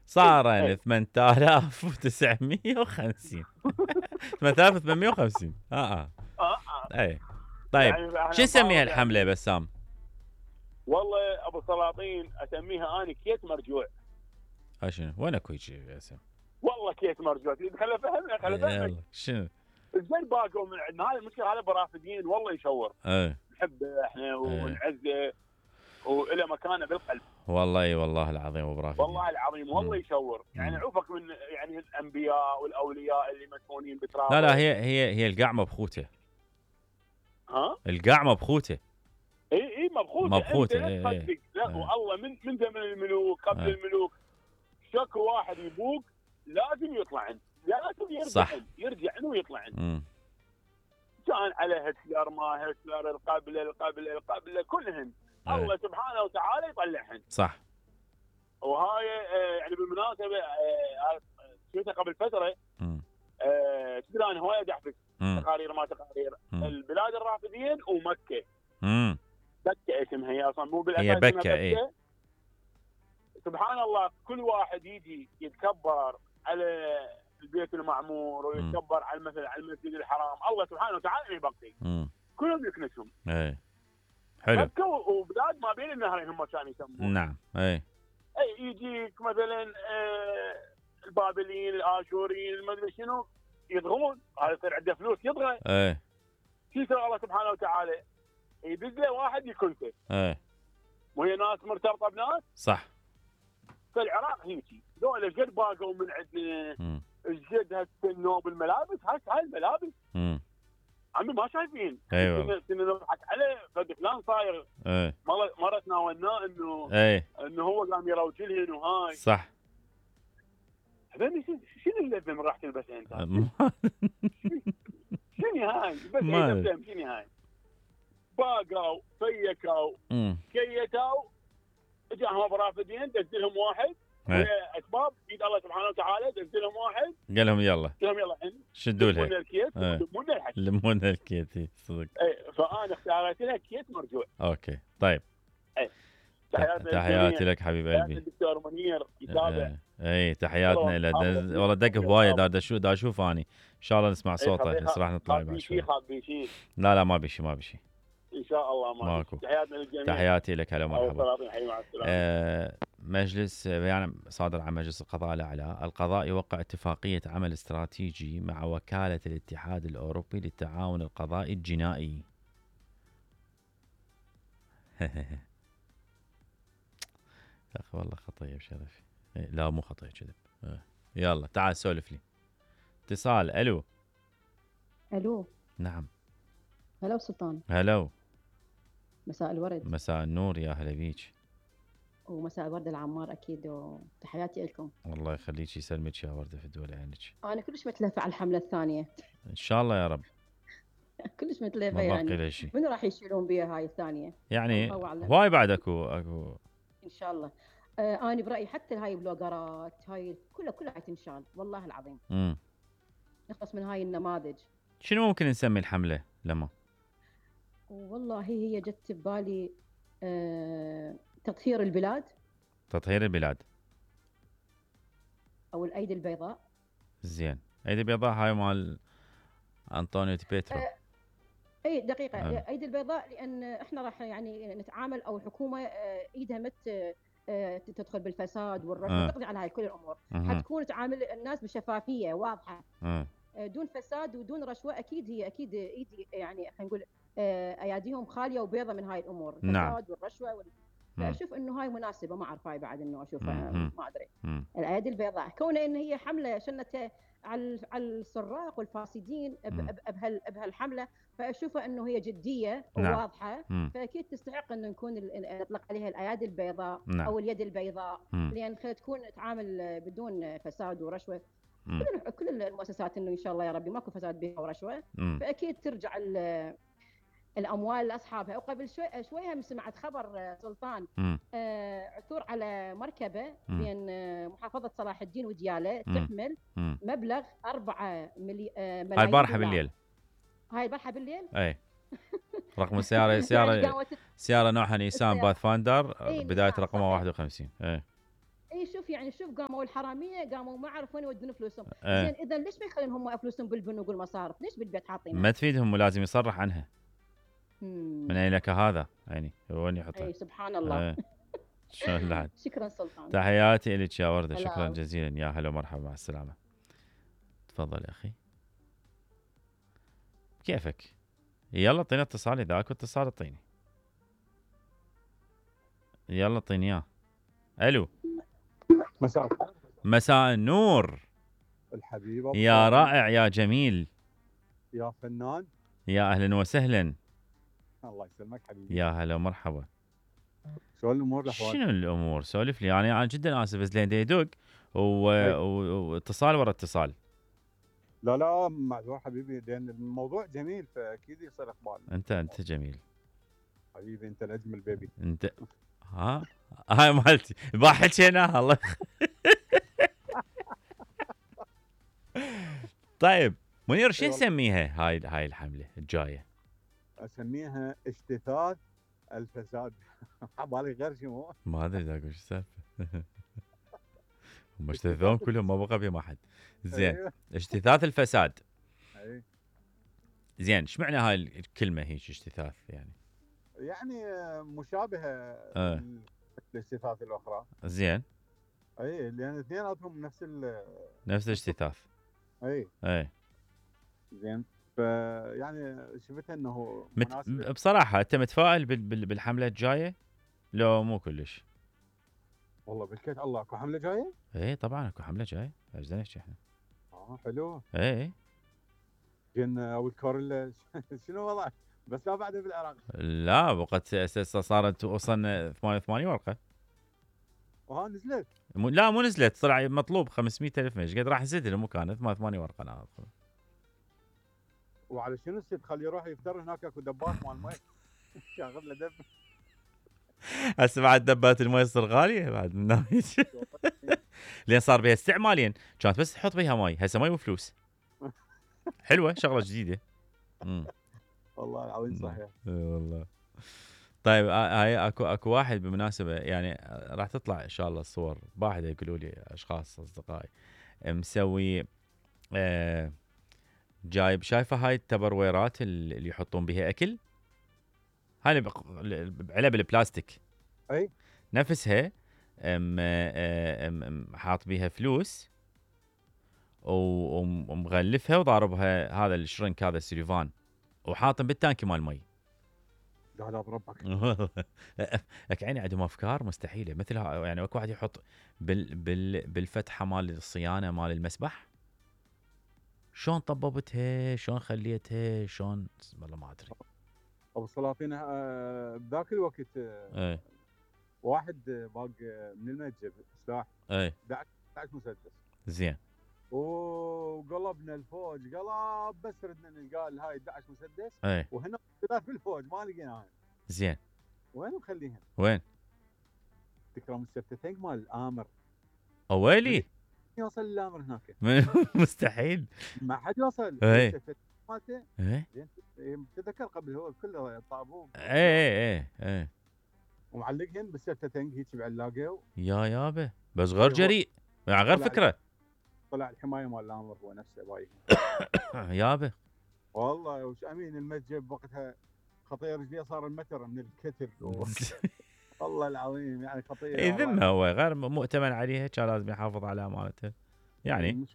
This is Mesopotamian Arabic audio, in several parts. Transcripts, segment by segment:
صار 8950 8850 اي طيب يعني شو نسميها الحمله بسام؟ والله ابو سلاطين اسميها اني كيت مرجوع. شنو وين اكو هيك اسم؟ والله كيت مرجوع. خليني افهمك شنو زين باقوا من عندنا. هاي المشكله، هذا برافدين والله يشور. نحبه احنا ونعزه والى مكانه بالقلب. والله العظيم ابو برافدين، والله العظيم والله يشور. يعني عوفك من يعني الانبياء والاولياء اللي مدفونين بتراب. لا هي القعمه بخوته. القعمه بخوته. اي مبخوته. لا والله من زمن الملوك قبل الملوك شكو واحد يبوق لازم يطلع، لازم يرجع ويطلع. كان على هتلر ما هتلر القبله كلهن الله سبحانه وتعالى يطلعهن. صح. وهاي يعني بالمناسبه شفتها قبل فتره. تدري انا هوايه احبس تقارير ما تقارير البلاد الرافدين ومكه. بكه اسمها هي اصلا، مو بالاساس هي بكه. اي سبحان الله، كل واحد يجي يتكبر على البيت المعمور ويتكبر على مثلا على المسجد الحرام، الله سبحانه وتعالى يبقي كلهم يكنسهم. اي حلو. مكه وبلاد ما بين النهرين هم كانوا يسمون. نعم. اي يجيك مثلا البابليين الاشوريين المدري شنو يضغون، هذا يصير عنده فلوس يضغى. شو يسوي الله سبحانه وتعالى؟ يدز له واحد يكنسه. وهي ناس مرتبطه بناس. صح. في العراق هيجي ذولا قد باقوا من عندنا الجد هالسنوب الملابس. هاي الملابس عمي ما شايفين. ايوه كنا نضحك عليه فد فلان صاير. مره تناولناه انه هو قام يروج لهن وهاي. صح. هذول شنو اللذه من راح تلبسها انت؟ شنو هاي؟ بس شنو هاي؟ باقوا فيكوا كيتوا اجاهم برافدين دزلهم واحد اسباب يد الله سبحانه وتعالى دزلهم واحد قال لهم يلا شدوا لها لمونا الكيت صدق. فانا اختاريت لها كيت مرجوع. اوكي طيب. تحياتي لك حبيب قلبي الدكتور منير يتابع. تحياتنا له. والله دق هوايه دا اشوف اني ان شاء الله نسمع صوته. راح نطلع بعد شوي. لا ما بشي ان شاء الله ماكو. تحياتنا للجميع. تحياتي لك. هلا مرحبا. مع السلامه. مجلس يعني صادر عن مجلس القضاء الأعلى. القضاء يوقع اتفاقية عمل استراتيجي مع وكالة الاتحاد الأوروبي للتعاون القضائي الجنائي. أخي والله خطية بشرفي. لا مو خطية كذب. يلا تعال سولف لي. اتصال. ألو. نعم. هلا سلطان. هلا. مساء الورد. مساء النور، يا هلا بيك. ومساء الورد العمار اكيد، وتحياتي لكم. الله يخليك، يسلمك يا ورده في دول عينك. انا كلش متلهفه على الحمله الثانيه. ان شاء الله يا رب. كلش متلهفه يعني. من راح يشيلون بيها هاي الثانيه؟ يعني هواي بعد اكو ان شاء الله. انا برايي حتى هاي البلوجرات هاي كلها تنشال والله العظيم. نخلص من هاي النماذج. شنو ممكن نسمي الحمله لما؟ والله هي جت ببالي تطهير البلاد او الايدي البيضاء. زين، ايدي البيضاء هاي مال انطونيو بيترو. اي دقيقه. ايدي البيضاء لان احنا راح يعني نتعامل او الحكومه ايدها مت تدخل بالفساد والرشوه تقضي على هاي كل الامور. حتكون تعامل الناس بشفافيه واضحه دون فساد ودون رشوه. اكيد ايدي يعني خلينا نقول اياديهم خاليه وبيضه من هاي الامور. الفساد والرشوه فاشوف انه هاي مناسبه. ما اعرف هاي بعد انه اشوفها ما ادري. الايادي البيضاء كونه ان هي حمله شنت على السراق والفاسدين بهالحمله، فاشوفها انه هي جديه وواضحه. فاكيد تستحق انه نكون نطلق عليها الايادي البيضاء او اليد البيضاء، لان تكون تعامل بدون فساد ورشوه. كل المؤسسات انه ان شاء الله يا ربي ماكو فساد بها ورشوه، فاكيد ترجع الاموال لاصحابها. وقبل شويه هم سمعت خبر سلطان عثور على مركبه بين محافظه صلاح الدين ودياله تحمل مبلغ 4 ملايين. هاي البارحه بالليل. اي رقم السياره سياره نوعها نيسان باث فاندر، بدايه رقمها 51. اي شوف شوف يعني شوف قاموا الحراميه قاموا ما عرفوا وين يودون فلوسهم. زين اذا ليش ما يخلون هم فلوسهم بالبنوك والمصارف؟ ليش بالبيت حاطينها؟ ما تفيدهم ولازم يصرح عنها. من اين لك هذا يعني وين يحطها؟ اي سبحان الله. شلون لحد. شكرا سلطان. تحياتي لك يا ورده. شكرا جزيلا. يا هلا ومرحبا مع السلامه. تفضل يا اخي. كيفك؟ يلا اعطينا اتصال. اذا اكو اتصال اعطيني. يلا اعطيني اياه. الو. مساء النور الحبيب. يا رائع يا جميل يا فنان. يا اهلا وسهلا. الله يسلمك حبيبي. يا هلا ومرحبا. شو الامور الاحوال؟ شنو الامور؟ سولف لي. انا جدا اسف بس لين يدق واتصال ورا اتصال. لا معذور حبيبي لان الموضوع جميل فاكيد يصير اقبال. انت جميل حبيبي. انت الاجمل بيبي. انت هاي مالتي ما حكيناها. الله طيب منير شو نسميها هاي الحمله الجايه؟ اسميها اجتثاث الفساد. حبالي غير شو ما ادري اذا اقول شو السالفه. هم اجتثثون كلهم ما بقى بهم احد. زين اجتثاث الفساد. زين ايش معنى هاي الكلمه هيك اجتثاث يعني؟ يعني مشابهه للاجتثاث الاخرى. زين. اي لان اثنيناتهم نفس الاجتثاث. اي زين. فيعني شفتها انه مناسب. بصراحه انت متفائل بالحمله الجايه؟ لو مو كلش. والله بالكيت الله اكو حمله جايه؟ ايه طبعا اكو حمله جايه. ايش نحكي احنا؟ حلو. ايه جن او الكوريلا. شنو وضع؟ بس لا بعد بالعراق. لا وقت صارت وصلنا 88 ورقه. نزلت؟ لا مو نزلت. طلع مطلوب 500,000 ايش قد راح نزيد مو كانت 88 ورقه. انا وعلى شنو السيد خليه يروح يفتر هناك اكو دبات مال مي. شاغل له دب. هسه بعد دبات المي تصير غاليه بعد من ناحيه. لين صار بها استعمالين كانت بس تحط بها مي. هسه مي وفلوس. حلوه شغله جديده. والله العظيم صحيح. والله. طيب هاي اكو واحد بالمناسبه يعني راح تطلع ان شاء الله الصور واحد يقولوا لي اشخاص اصدقائي مسوي جايب شايفه هاي التبرويرات اللي يحطون بها اكل. هاي علب البلاستيك. اي نفسها. حاط بيها فلوس ومغلفها وضاربها هذا الشرنك هذا السليفان وحاطم بالتانكي مال مي. لا بربك. لك عيني عندهم افكار مستحيله مثل يعني اكو واحد يحط بالفتحه مال الصيانه مال المسبح. شلون طببتها شلون خليتها شلون والله ما ادري. ابو السلاطين بذاك الوقت واحد باق من المتجر سلاح 11 مسدس. زين. وقلبنا الفوج قلب بس ردنا نلقى هاي 11 مسدس. وهنا ثلاث بالفوج ما لقيناها. زين. وين مخليهم؟ وين؟ تكرم السفتين مال الامر. اويلي يوصل للامر هناك. مستحيل. ما حد يوصل. السفتين مالته. تذكر قبل هو كله طابوب. ايه ومعلقهن بالسفتين هيك بعلاقه. يا يابا بس غير جريء يعني غير فكره. طلع الحمايه مال الامر هو نفسه بايق. يابا والله وش امين المتجب وقتها خطير رجليه صار المتر من الكتر. والله العظيم يعني خطير. اي ذمه هو غير مؤتمن عليها كان لازم يحافظ على امانته يعني.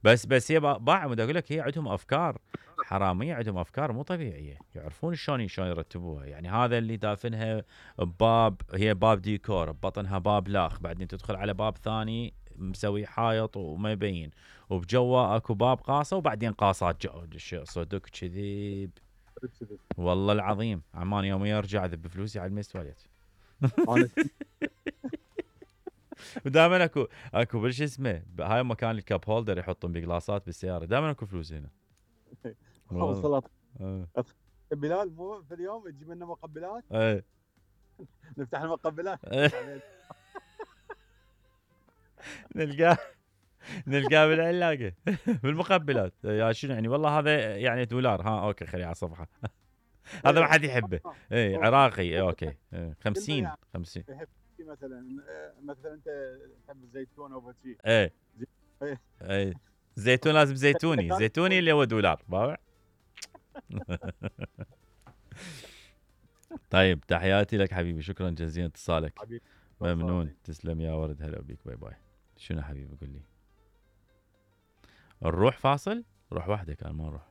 بس هي باع اقول لك هي عندهم افكار حراميه. عندهم افكار مو طبيعيه. يعرفون شلون يرتبوها. يعني هذا اللي دافنها بباب هي باب ديكور ببطنها باب لاخ بعدين تدخل على باب ثاني مسوي حائط وما يبين وبجوا اكو باب قاصه وبعدين قاصات صدق كذب. والله العظيم عمان يوم يرجع ذب فلوسي على الميز تواليت. ودائما اكو بالش اسمه هاي مكان الكاب هولدر يحطون بجلاسات بالسياره. دائما اكو فلوس هنا. وصلت. بلال مو في اليوم تجيب لنا مقبلات. نفتح المقبلات. نلقاه بالعلاقه بالمقبلات. يا شنو يعني والله هذا يعني دولار. اوكي خليه على صفحه. هذا ما حد يحبه. عراقي اوكي 50. حكي مثلا انت تحب الزيتون او شيء. اي زيتون لازم زيتوني اللي هو دولار باوع. طيب تحياتي لك حبيبي، شكرا جزيلا اتصالك حبيبي. ممنون، تسلم يا ورد، هلا بيك، باي باي. شنو حبيبي قول لي؟ نروح فاصل؟ روح وحدك، انا ما اروح.